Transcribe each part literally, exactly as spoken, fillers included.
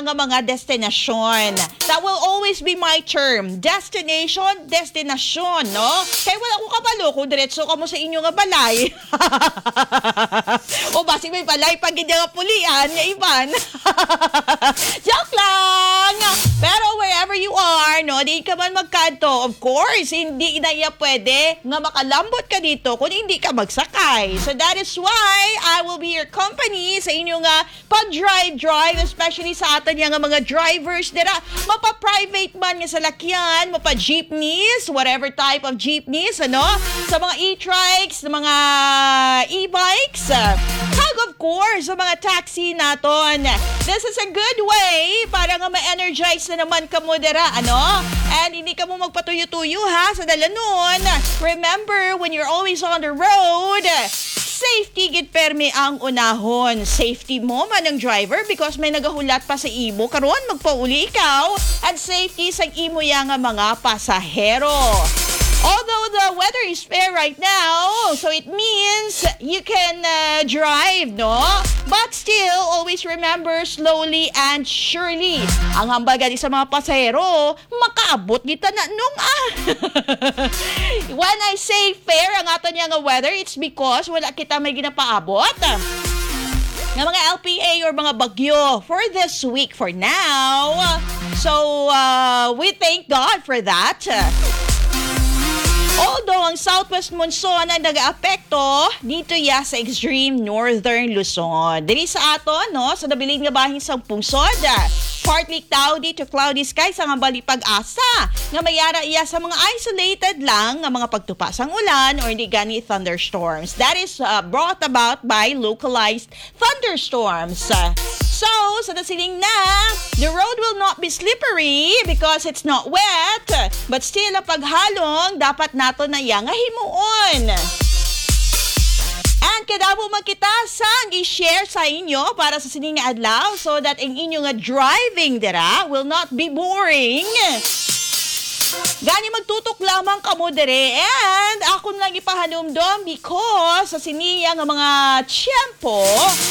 nga mga destinasyon. That will always be my term. Destination, destinasyon, no? Kay wala ko kabalo kung diretso kamo sa inyo nga balay. O basi may balay pa gid nga pulian nga iban. Joke lang! Pero wherever you are, no, di ka man magkadto, of course, hindi na iya pwede nga makalambot ka dito kung hindi ka magsakay. So that is why I will be your company sa inyo nga pag-drive-drive, especially sa aton nga mga drivers dira. Mapa-private man nga salakyan, mapa-jeepneys, whatever type of jeepneys, ano? Sa mga e-trikes, sa mga e-bikes, kag of course, sa mga taxi naton. This is a good way para nga ma-energize na naman kamo dira, ano? And hindi kamo magpatuyo-tuyo, ha, sa dalanon. Remember, when you're always on the road, safety gid permi ang unahon. Safety mo man ang driver because may nagahulat pa sa imo. Karon, magpauli ikaw. At safety sa imo ya nga mga pasahero. Although the weather is fair right now, so it means you can uh, drive, no? But still, always remember, slowly and surely. Ang hambal gani sa mga pasahero, makaabot kita na nung ah. When I say fair ang aton nga weather, it's because wala kita may ginapaabot nga mga L P A or mga bagyo for this week for now. So, uh, we thank God for that. Although ang southwest monsoon ang nag-aapekto dito ya sa extreme northern Luzon. Diri sa aton, no, sa nabilin nga bahin sa pungsod, partly cloudy to cloudy skies ang hambal ni Pag-asa nga may ara iya sa mga isolated lang nga mga pagtupa sang ulan or di gani thunderstorms. That is uh, brought about by localized thunderstorms. So, sa nasiling na, the road will not be slippery because it's not wet, but still ang paghalong dapat nato na iya nga himuon. And kadamo man kita sang i-share sa inyo para sa sining nga adlaw so that ang inyo nga driving dira will not be boring. Gani magtutok lamang kamo diri and akon lang ipahanumdom because sa siniya nga mga tiyempo,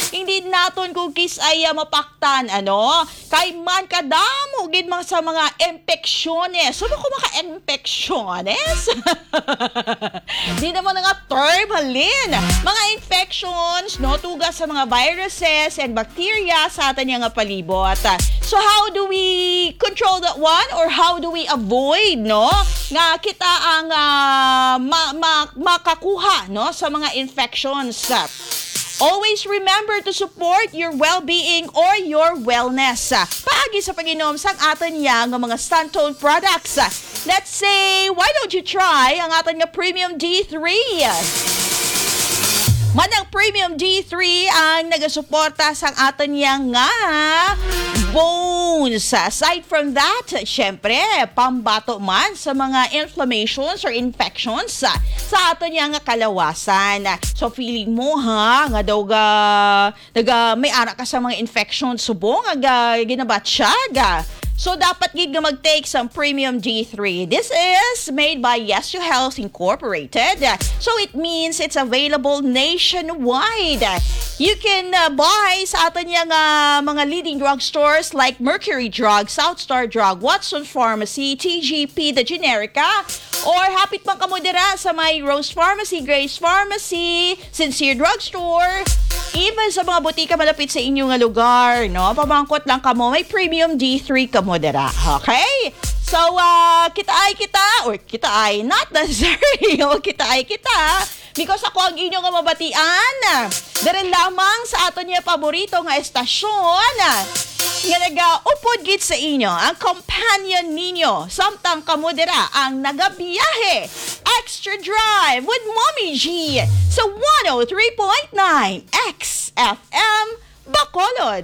hindi naton kung kis-ay mapaktan, ano? Kay man kadamo gid mga sa mga impeksyones. Sino ko maka-impeksyones? Di naman nga term, halin. Mga infections, no? Tugas sa mga viruses and bacteria sa aton nga palibot. So how do we control that one? Or how do we avoid, no? Nga kita ang ah, ma- ma- makakuha, no? Sa mga infections. Always remember to support your well-being or your wellness. Paagi sa pag-inom sang aton ya nga mga Santone products. Let's say, why don't you try ang aton nga Premium D three? Manang Premium D three ang nagasuporta sang aton ya nga bones. Aside from that, syempre, pambato man sa mga inflammations or infections sa aton ya nga kalawasan. So feeling mo ha nga daw ga, naga, may ara ka sa mga infections subong nga ga- ginabatsyag. So dapat gid nga mag-take sang Premium D three. This is made by Yes to Health Incorporated. So it means it's available nationwide. You can uh, buy sa aton ya nga mga leading drugstores like Mercury Drug, South Star Drug, Watson Pharmacy, T G P, The Generica, or hapit man kamo dira sa may Rose Pharmacy, Grace Pharmacy, Sincere Drugstore, even sa mga butika malapit sa inyo nga lugar, no? Pamangkot lang kamo, may Premium D three kamo dira. Okay? So, uh, kita ay kita, or kita ay, not necessarily, o kita ay kita, because ako ang inyo nga mabatian. Diri lamang sa aton nga paborito nga estasyon nga nagaupod gid sa inyo, ang companion ninyo. Samtang kamo dira ang nagabiyahe. Extra Drive with Mommy G sa one oh three point nine X F M Bacolod.